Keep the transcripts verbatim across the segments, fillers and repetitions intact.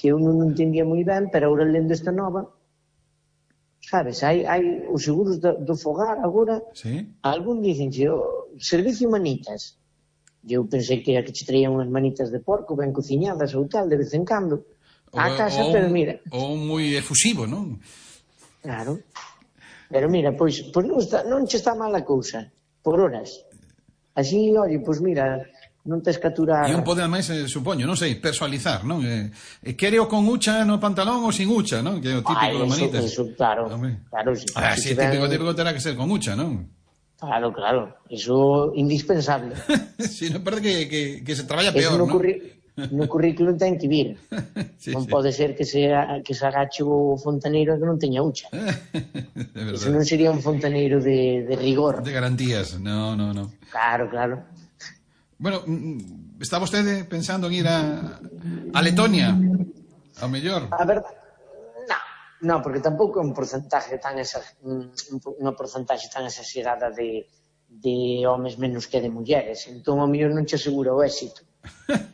que eu non entendía moi ben, pero agora lendo esta nova, sabes, hai, hai os seguros do, do fogar agora, sí? Algún dicen que o servicio manitas, eu pensei que era que che traían unhas manitas de porco ben cociñadas ou tal, de vez en cando, a casa, pero mira... Ou moi efusivo, non? Claro, pero mira, pois, pois non, está, non che está mal a cousa, por horas. Así, oi, pois mira... non tes que aturar... E un pode, ademais, eh, supoño, non sei, personalizar, non? Eh, eh, quero con hucha no pantalón ou sin hucha, non? Que é o típico Ay, dos manitas. Eso, claro, claro. Si, ah, si, si típico, típico terá que ser con hucha, non? Claro, claro, eso indispensable. Si, non parece que, que, que se traballa peor, no non? Curri... No currículum ten que vir. sí, non sí. Pode ser que se, que se agache o fontaneiro que non teña hucha. Eso non sería un fontaneiro de, de rigor. De garantías, no, no, no. Claro, claro. Bueno, está vostede pensando en ir a, a Letonia? Ao mellor? A verdade, no, no, porque tampouco é un porcentaje tan esa, unha porcentaxe tan exagerada de, de homes menos que de mulleres. Entón, ao mellor non che asegura o éxito.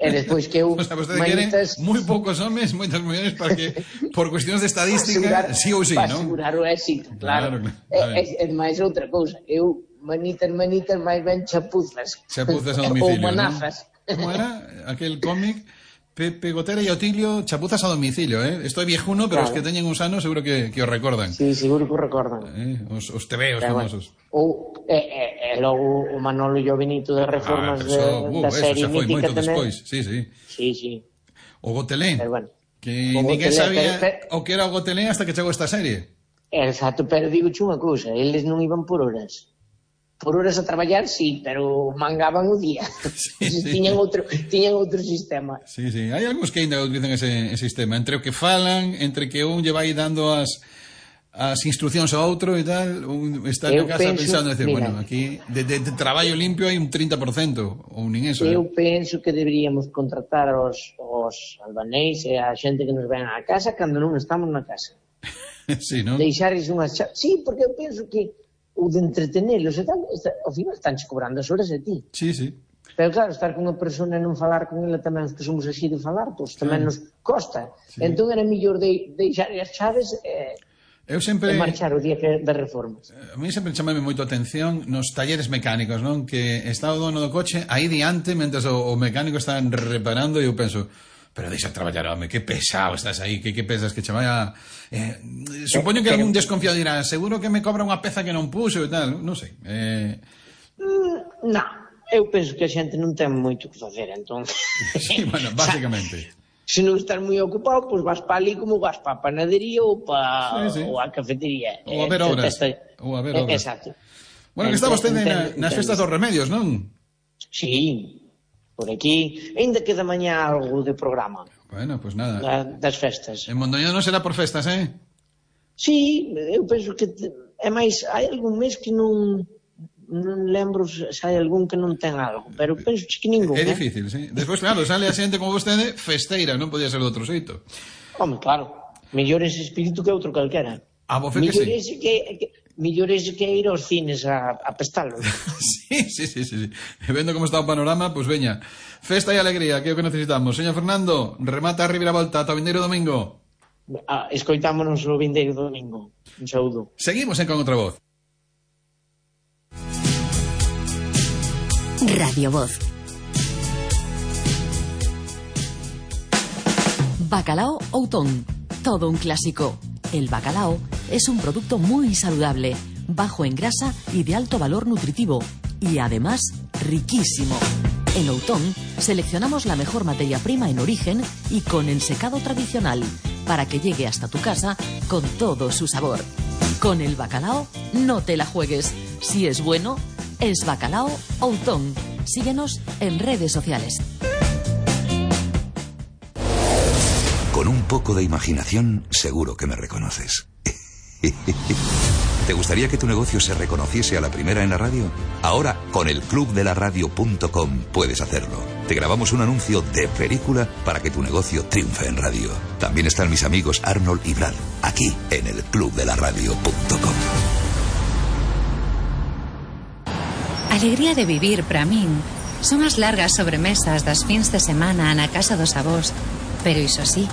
E despois que eu... O sea, vostede manitas... queren moi poucos homes, moitas mulleres, para que, por cuestións de estadística, asegurar, sí ou sí, non? Para asegurar o éxito, claro. claro, claro. E, e, e máis outra cousa, eu... manitas, manitas, máis ben chapuzas. Chapuzas a domicilio, ou manazas. ¿no? Como era aquel cómic? Pepe Gotera e Otilio, chapuzas a domicilio, eh? Esto é viejuno, pero claro. Os que teñen uns anos seguro que, que os recordan. Sí, seguro que os recordan. Eh, os, os tebeos pero, famosos. Ou, e, e, e logo o Manolo e o Benito de Reformas ah, eso, de, uh, da serie mítica tamén. Despois. Sí, sí. Sí, sí. O Gotelén. Pero bueno. Que ninguén sabía pero, pero, o que era o Gotelén hasta que chegou esta serie. Exacto, pero digo unha cousa, eles non iban por horas. Por horas a traballar, sí, pero mangaban o día. Sí, sí. Tiñan outro, tiñan outro sistema. Sí, sí. Hai algúns que ainda utilizan ese, ese sistema. Entre o que falan, entre que un lle vai dando as, as instruccións ao outro e tal, un está na casa penso, pensando, decir, mira, bueno, aquí de, de, de traballo limpio hai un trinta por cento, ou nin eso. Eu eh? penso que deberíamos contratar os, os albanéis e a xente que nos ven á casa cando non estamos na casa. Sí, non? Deixares unhas... Sí, porque eu penso que ou de entretenelos e tal, está, ao final estánche cobrando as horas a ti. Sí, sí. Pero claro, estar con unha persona e non falar con ela tamén, que somos así de falar, pois tamén nos costa. Sí. Entón era mellor de, deixar as chaves e, eu sempre... e marchar o día que, de reformas. A mí sempre chamame moito a atención nos talleres mecánicos, non? Que está o dono do coche aí diante, mentre o, o mecánico está reparando e eu penso... Pero deixa traballar, home, que pesado estás aí, que, que pensas que che vai a... Eh, supoño que algún desconfiado dirá, seguro que me cobra unha peza que non puxo e tal, non sei. Eh... Mm, non, eu penso que a xente non ten moito que facer, entón... Sí, bueno, básicamente. Se non estás moi ocupado, pois vas pa ali como vas pa panadería ou pa sí, sí. ou a cafetería. Ou a ver obras. Ou a ver obras. Exacto. Bueno, que está vostede na, nas festas dos remedios, non? Sí, por aquí, ainda queda mañá algo de programa. Bueno, pois pues nada. Da, das festas. En Mondoñedo non será por festas, eh? Sí, eu penso que te, é máis, hai algún mes que non non lembro se hai algún que non ten algo, pero penso que ningún. É difícil, eh? Sí. Despois, claro, sale a xente como vostede festeira, non podía ser de outro xeito. Home, claro, mellor ese espírito que outro calquera. A voce que sí. Que, que, mellor ese que ir aos cines a, a pestalos. Sí, sí, sí, sí, sí. Vendo como está o panorama, pois pues veña. Festa e alegría, que é o que necesitamos. Señor Fernando, remata a reviravolta ata o vindeiro domingo. Ah, escoitámonos o vindeiro domingo. Un saúdo. Seguimos en Con Outra Voz. Radio Voz. Bacalao Outón. Todo un clásico. El bacalao es un producto muy saludable, bajo en grasa y de alto valor nutritivo, y además riquísimo. En Outón seleccionamos la mejor materia prima en origen y con ensecado tradicional, para que llegue hasta tu casa con todo su sabor. Con el bacalao no te la juegues. Si es bueno, es Bacalao Outón. Síguenos en redes sociales. Con un poco de imaginación, seguro que me reconoces. ¿Te gustaría que tu negocio se reconociese a la primera en la radio? Ahora, con el club de la radio punto com puedes hacerlo. Te grabamos un anuncio de película para que tu negocio triunfe en radio. También están mis amigos Arnold y Brad, aquí, en el club de la radio punto com. Alegría de vivir, para min, son as largas sobremesas das fins de semana na casa dos avós. Pero iso sí,